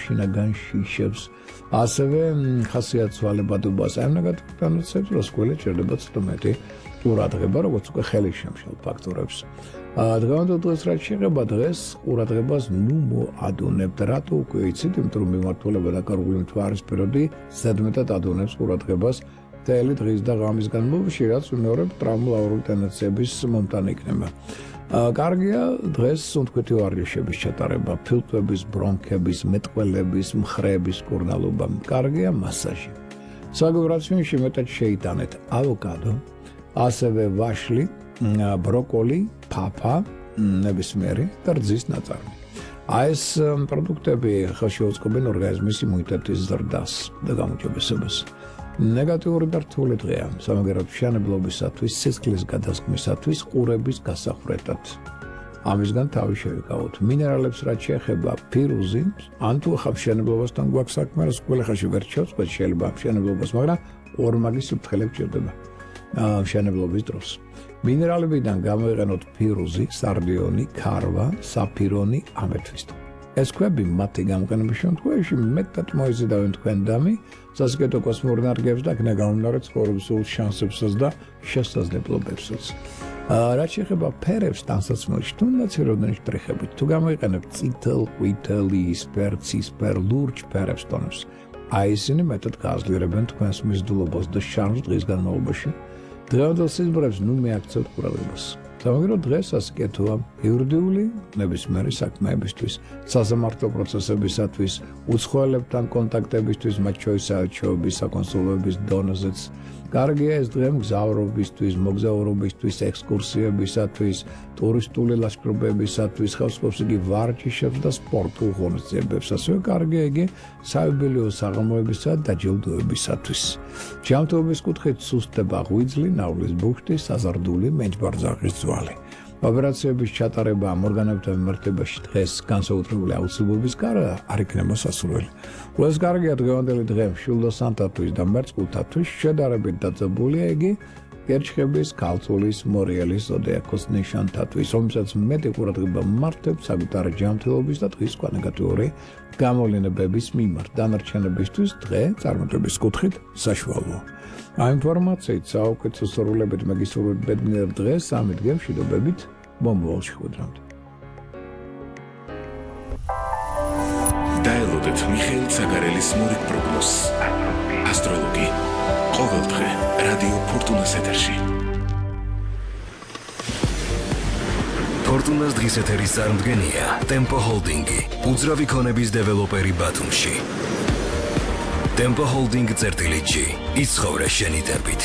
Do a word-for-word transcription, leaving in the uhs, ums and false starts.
შინაგან შიშებს, ასევე ხასიათვალებადობას ამ ნეგატიურ ნაცებს, რომ სკოლა ჭირდება ცოტა მეტი ყურადღება, როგორც უკვე ხელი შემშელ ფაქტორებს. დღევანდელ დღეს რაც შეეხება დღეს ყურადღებას ნუ მოადუნებთ, რატო უკვე იცით, იმიტომ რომ მიმართულება დაკარგული მთვარის პერიოდი ზედმეტად ადუნებს ყურადღებას მთელი დღის და ღამის განმავლობაში, რაც უმეორებ ტრავმატული ტენდენციების მომტანი იქნება. კარგია დღეს სუნთქვეთი ვარჯიშების ჩატარება, ფილტვების, ბრონქების, მეტყველების, მხრების კურნალობა. კარგია მასაჟი. საგულ რაციონში მეტად შეიტანეთ ავოკადო, ასევე ვაშლი, ბროკოლი, ფაფა, ნებისმიერი და რძის ნაწარმი. აი ეს პროდუქტები ხელშეუწყობენ ორგანიზმის იმუნიტეტის ზრდას და გამოჯობესებას. ნეგატიური და რთული დღეა, სამაგერად მშენებლობისათვის, სისხლის გადასხმისათვის, ყურების გასახვრეთად. ამისგან თავი შევიკავოთ. მინერალებს რაც შეეხება ფირუზი, ან თუ ახლა მშენებლობასთან გვაქვს საქმე, რა სულ ხაში ვერ ჩავწყვეტ შეიძლება მშენებლობას, მაგრამ ორმაგის საფრთხელები ჭირდება მშენებლობის დროს. მინერალებიდან გამოიყენოთ ფირუზი, სარდიონი, ქარვა, საფირონი, ამეთვისტო. ეს ქვები მათი გამოყენების შემთხვევაში მეტად მოიზიდავენ თქვენ დამი, სასიკეთო კოსმურ ენერგიებს და აქ გამომდინარე ცხოვრების სულ შანსებსაც და შესაძლებლობებსაც. რაც შეეხება ფერებს ტანსაცმელში, თუნდაც ეროვნული შტრიხებით, თუ გამოიყენებთ წითელ, ყვითელი, ისპერ, ცისფერ, ლურჯ ფერებს ტონებს, აი ისინი მეტად გააძლიერებენ თქვენს მიზიდულობას და შარმს დღის განმავლობაში. დღევანდელ სიზმრებს ნუ მიაქცევთ ყურადღებას. სამაგერო დღეს ასიკეთოა იურიდიული ნებისმიერი საქმეებისთვის, საზამართლო პროცესებისათვის, უცხოელებთან კონტაქტებისთვის, მათ შორის საელჩოების, საკონსულოების დონეზეც. კარგია ეს დღე მგზავრობისთვის, მოგზაურობისთვის, ექსკურსიებისათვის, ტურისტული ლაშქრობებისათვის, ხელსაყრელს იგი ვარჯიშებს და სპორტულ ღონისძიებებს. ასევე კარგია იგი საიუბილეო საღამოებისა და დაჯილდოებისათვის. ჯანმრთელობის კუთხით სუსტდება ღვიძლი, ნავლის ბუხტი, საზარდული, მენჯბარძაღის ძვალი. ოპერაციების ჩატარება ამ ორგანოებთან მიმართებაში დღეს განსაკუთრებული აუცილებლობის გარდა არ იქნება სასურველი. ყველას კარგია დღევანდელი დღე მშვილდოსანთათვის და მერწყულთათვის შედარებით დაძაბულია იგი გერჩხების, ქალწულის, მორიელის ზოდიაქოს ნიშანთათვის, რომელსაც მეტი ყურადღება მართებ საკუთარი ჯანმრთელობის და დღის სხვა ნეგატიური გამოვლენებების მიმართ. დანარჩენებისთვის დღე წარმატების კუთხით საშუალოა. ამ ინფორმაციით საუკეთესო სურვილებით მაგისტრად ბედნიერ დღეს სამი დღე მშვიდობებით მომავალში ხვდრამდე. დაელოდეთ მიხეილ ცაგარელის მორიგ პროგნოზს. ასტროლოგი. ყოველდღე რადიო ფორტუნას ეთერში. ფორტუნას დღის ეთერის წარმომადგენია ტემპო ჰოლდინგი, უძრავი ქონების დეველოპერი ბათუმში. Tempo Holding წერტილი G. იცხოვრე შენი დებით.